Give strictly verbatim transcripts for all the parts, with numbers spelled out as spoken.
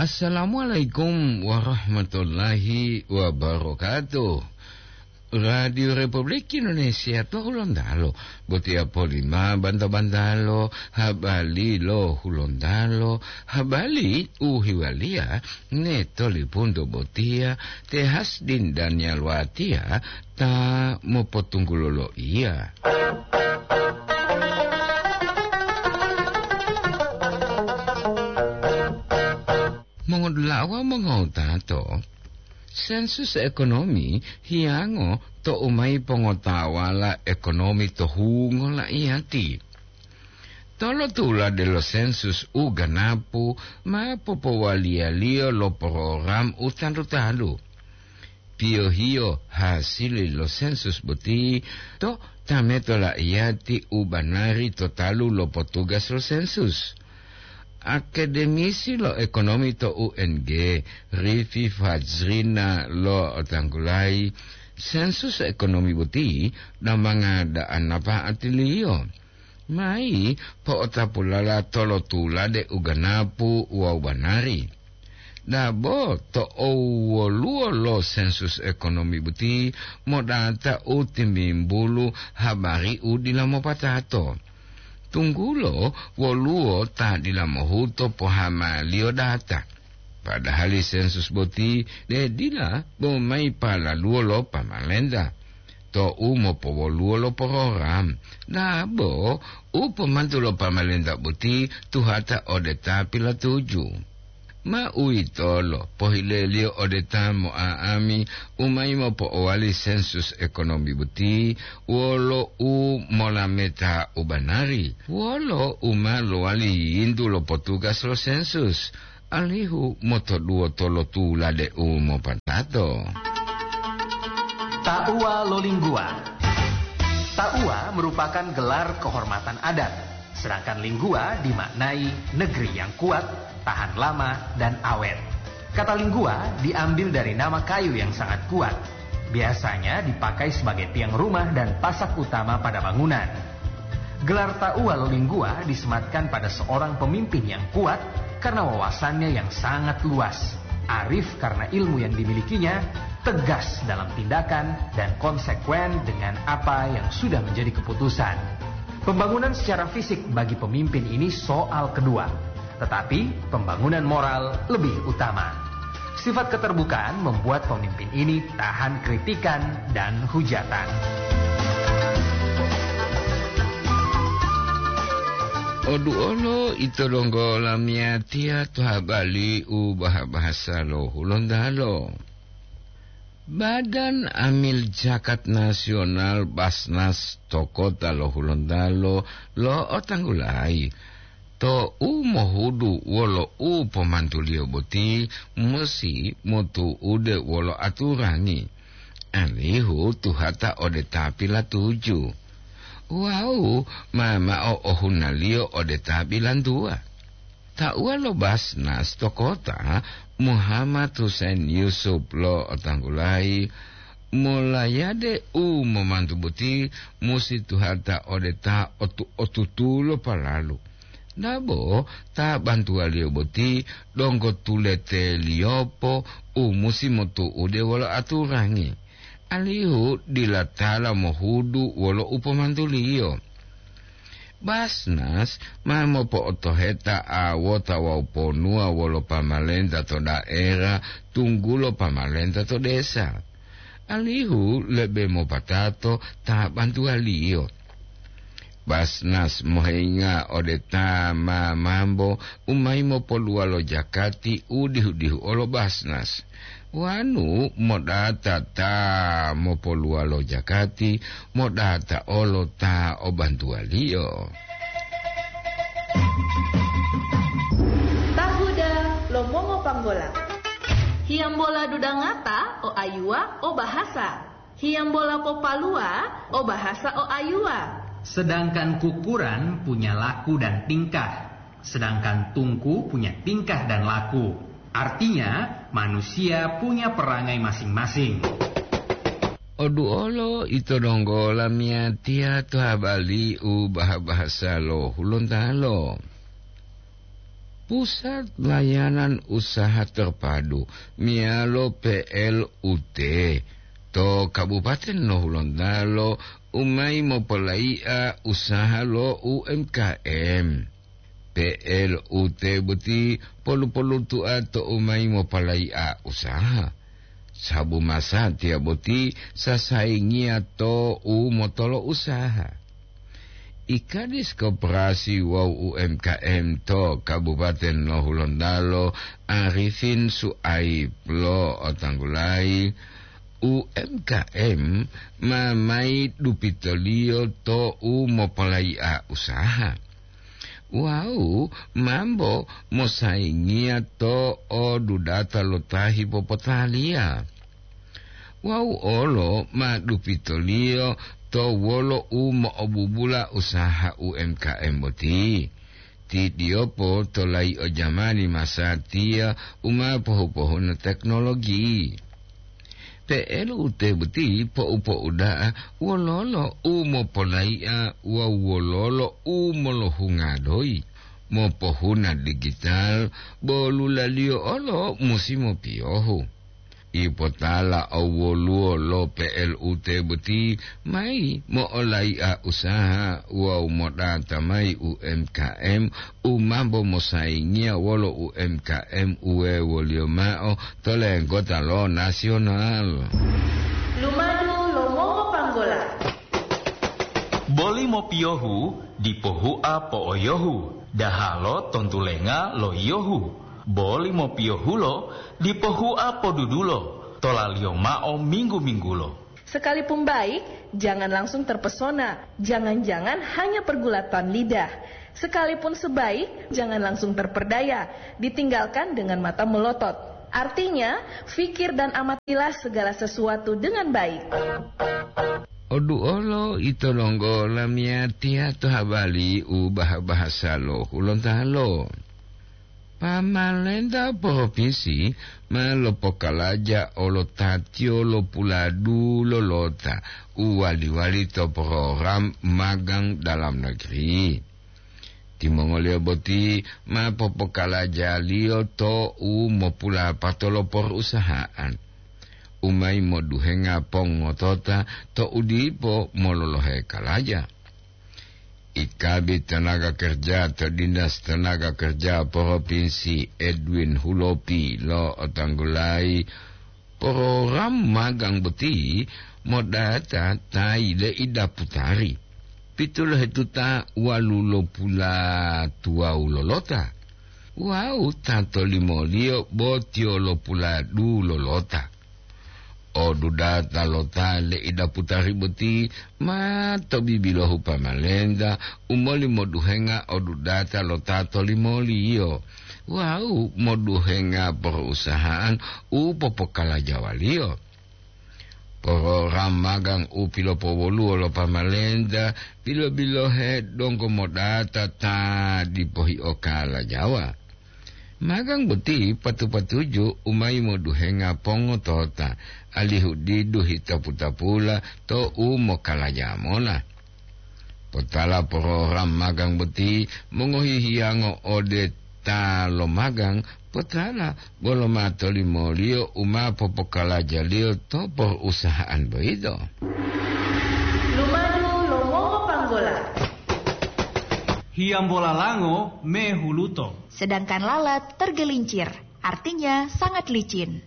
Assalamualaikum warahmatullahi wabarakatuh. Radio Republik Indonesia to Hulontalo, botiya polima banta-bantalo, habali lo Hulontalo, habali u hiwaliya ne tolipunto botiya, te Hasdin Daniel Watiya ta mopotunggulo loiya. Mongodula'a wawu mongotato, sensus ekonomi hiyango to u mayi pongotawala ekonomi to hungo la'iyati. Tolotulade lo sensus u ganapu ma popowaliyaliyo lo program u talu-talu. Piyohiyo hasili lo sensus boti to tameto la'iyati u banari to talu lo potugas lo sensus. Akademisi lo ekonomi to U N G, Rifi Fajrina, lo'otanggulayi sensus ekonomi boti damanga da'an napa'atiliyo. Mayi po'otapulala tolotulade u ganapu wawu banari. Dabo to owoluwo lo sensus ekonomi boti modata u timimbulu habari u dila mopatato. Tunggulo woluwo ta dila mohuto pohamaliyo data. Padahali sensus boti de dila bo mayi palaluwo lo pamalenta to u mopowoluwo lo program, dabo u pomantu lo pamalenta boti tuhata ode ta pilatuju. Ma uwitolo pohileliyo ode ta mo'a'ami u mayi mopo'owali sensus ekonomi boti wolo u molameta u banari, wolo u ma lowali yintu lo potugas lo sensus, alihu motoduwo tolotulade u mopatato. Tauwa lo Lingguwa. Tauwa merupakan gelar kehormatan adat, sedangkan Lingguwa dimaknai negeri yang kuat, tahan lama, dan awet. Kata Lingguwa diambil dari nama kayu yang sangat kuat. Biasanya dipakai sebagai tiang rumah dan pasak utama pada bangunan. Gelar Tauwa lo Lingguwa disematkan pada seorang pemimpin yang kuat karena wawasannya yang sangat luas, arif karena ilmu yang dimilikinya, tegas dalam tindakan, dan konsekuen dengan apa yang sudah menjadi keputusan. Pembangunan secara fisik bagi pemimpin ini soal kedua, tetapi pembangunan moral lebih utama. Sifat keterbukaan membuat pemimpin ini tahan kritikan dan hujatan. Oduolo ito donggo lamiyatiya to habari u baha-bahasa lo Hulontalo. Badan Amil Zakat Nasional, Basnas, to kota lo Hulontalo lo'otanggulayi to u mohudu wolo u pomantuliyo boti musi motu'ude wolo aturangi, alihu tuhata ode ta pilatuju wawu ma mao ohunaliyo ode ta bilantuwa. Tauwa lo Basnas to kota, Muhammad Husain Yusuf, lo'otanggulayi, molayade u momantu boti musi tuhata ode ta otu-, otutulo palalu. Dabo ta bantuwaliyo boti donggo tuleteliyopo u musi motu'ude wolo aturangi, alihu dila tala mohudu wolo u pomantuliyo. Basnas ma mopo'otoheta awota wawu ponuwa wolo pamalenta to daera, tunggulo pamalenta to desa, alihu lebe mopatato ta bantuwaliyo. Basnas mohinga ode ta ma mambo u mayi mopoluwa lo jakati u dihu-dihu olo Basnas. Wanu modata ta mopoluwa lo jakati, modata olo ta o bantuwaliyo. Tahuda lo mongopanggola. Hiyambola dudangata o ayuwa o bahasa. Hiyambola popaluwa o bahasa o ayuwa. Sedangkan kukuran punya laku dan tingkah, sedangkan tungku punya tingkah dan laku. Artinya, manusia punya perangai masing-masing. Oduolo ito donggo lamiyatiya to habari u baha-bahasa lo Hulontalo. Pusat Layanan Usaha Terpadu meyalo P L U T to Kabupaten Nohulontalo u mayi mopolai'a usaha lo U M K M. P L U T boti polu-polutua to u mayi mopolai'a usaha, sabu masatiya boti sasayingiya to u motolo usaha. I Kadis Koperasi wawu U M K M to Kabupaten Nohulontalo, Arifin Suaib, lo'otanggulayi, U M K M ma mayi dupitoliyo to u mopolai'a usaha. Wawu mambo mosayingiya to odudata lo ta hipopotaliya. Wawu olo ma dupitoliyo to wolo u mo'obubula usaha U M K M boti. Ti diyopo to layi'o jamani masatiya u ma pohu-pohuna teknologi. P L U T boti po'u-po'u da'a wololo u mopolai'a wawu wololo u molohunga doyi. Mopohuna digital, bo lulaliyo olo musi mopiyohu. Ipotala owoluwo lo P L U T boti mayi mo'olai'a usaha wawu modata mayi U M K M u mambo mosayingiya wolo U M K M u wewoliyo ma'o to lenggota lo nasional. Lumadu lo mongopanggola. Boli mopiyohu dipo hua po'oyohu, dahalo tontulenga lo yiyohu. Boli mopiyohulo dipo hua podudulo, tolaliyo mao minggu-minggulo. Sekalipun baik, jangan langsung terpesona. Jangan-jangan hanya pergulatan lidah. Sekalipun sebaik, jangan langsung terperdaya. Ditinggalkan dengan mata melotot. Artinya, fikir dan amatilah segala sesuatu dengan baik. Oduolo ito donggo lamiyatiya to habari u baha-bahasa lo Hulontalo. Pamalenta propinsi ma lopokalaja olo tatiyo lo puladu lolota u wali-wali to program magang dalam negeri. Timongoliyo boti ma popokalajaliyo to u mopulapato lo porusahaan, u mayi moduhenga pongotota to u dipo mololohe kalaja. I Kabid Tenaga Kerja to Dinas Tenaga Kerja Propinsi, Edwin Hulopi, lo'otanggulayi program magang boti modata ta yile'ida putari pitulohetuta walulopulatuwawu lolota wawu ta tolimoliyo bo tiyolopuladu lolota. Odudata lo ta le'ida putari boti ma to bibilohu pamalenta u moli moduhenga odudata lo ta tolimoliyo wawu moduhenga porusahaan u popokalajawaliyo. Program magang u pilopowoluwo lo pamalenta bilo-bilohe donggo modata ta dipo hiokalajawa. Magang boti patu-patuju u mayi moduhenga pongotota, alihu didu hitapu-tapula to u mokalaja mola. Potala program magang boti mongohi hiyango ode ta lomagang, potala bolo ma tolimoliyo u ma popokalajaliyo to porusahaan boyito. Lumadu lo mongopanggola. Hiyambola lango mehuluto. Sedangkan lalat tergelincir, artinya sangat licin.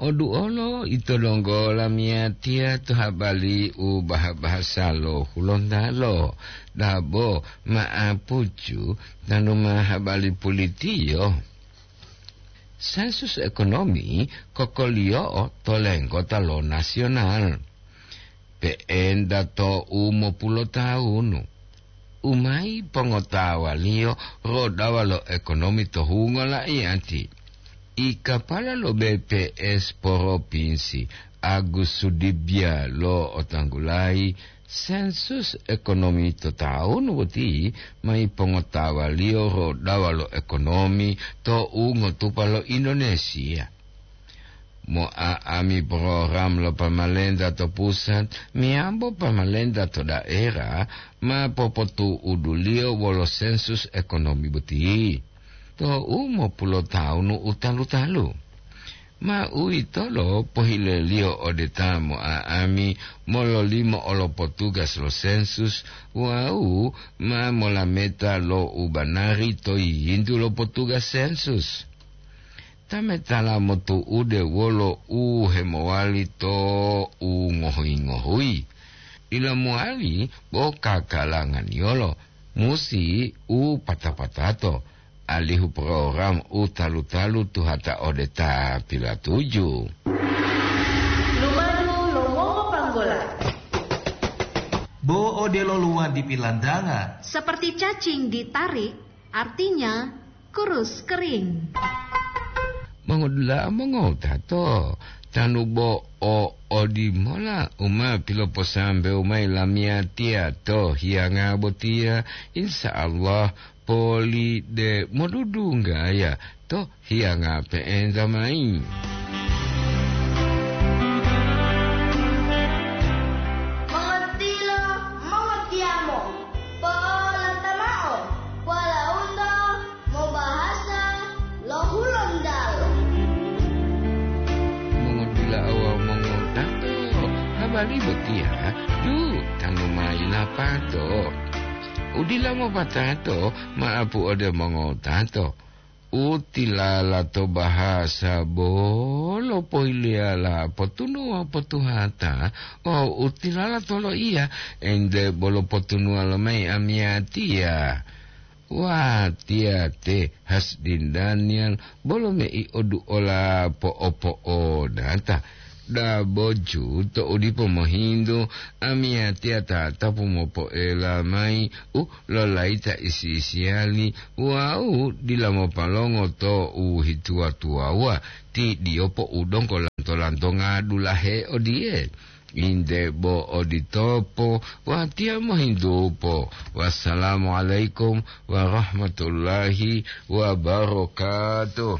Oduolo ito donggo lamiyatiya to habari u baha-bahasa lo Hulontalo, dabo ma'apucu tanu ma habari pulitiyo. Sensus ekonomi kokoliyo'o to lenggota lo nasional. Pe'enta to u mopulotawunu, u mayi pongotawaliyo rodawa lo ekonomi to hungo la'iyati. I kapala lo B P S Poropinsi, Agus Sudibya, lo'otanggulayi sensus ekonomi to tawunu boti mayi pongotawaliyo rodawa lo ekonomi to u ngotupa lo Indonesia. Mo'a'ami program lo pamalenta to pusat meyambo pamalenta to daerah ma popotu'uduliyo wolo sensus ekonomi boti. to'u mopulotawunu u talu-talu. Ma uwitolo pohileliyo ode ta mo'a'ami mololimo olo potugas lo sensus wawu ma molameta lo u banari to yiyintu lo potugas sensus. Tametala motu'ude wolo u hemowali to u ngohuyi-ngohuyi. Dila mowali bo kakalanganiyolo, musi u pata-patato, alihu program u talu-talu tuhata ode ta pilatuju. Lumadu lo mongopanggola. Bo odelo luwadi pilandanga. Seperti cacing ditarik, artinya kurus kering. Mongodula'a mongotato, tanu bo o odimola u ma piloposambewu mayi lamiyatiya to hiyanga botiya, insya Allah poli de modudunggaya to hiyanga pe'enta mayi. Mongotilo, mongotiyamo, po'olata mao, polaundo mobahasa lo Hulontalo. Mongodula'a wawu mongotato, habari botiya, yu, tanu mayi lapato. Udila mopatato, ma'apu ode mongotato. U tilala to bahasa bolo pohiliyala potunuwa potuhata, wawu u tilala to loiya ente bolo potunuwa lomayi amiyatiya. Watiya te Hasdin Daniel bolo mei oduola po'opo'odata. Daboju to'u dipo mohintu, amiyatiya tatapu mopoela mayi u lolayita isi-isiyali wawu dila mopalongo to u hituwa-tuwawuwa ti diyopo u donggo lanto-lantonga dulahe odiye. Inde bo oditopo, watiya mohintupo. Wassalamualaikum warahmatullahi wabarakatuh.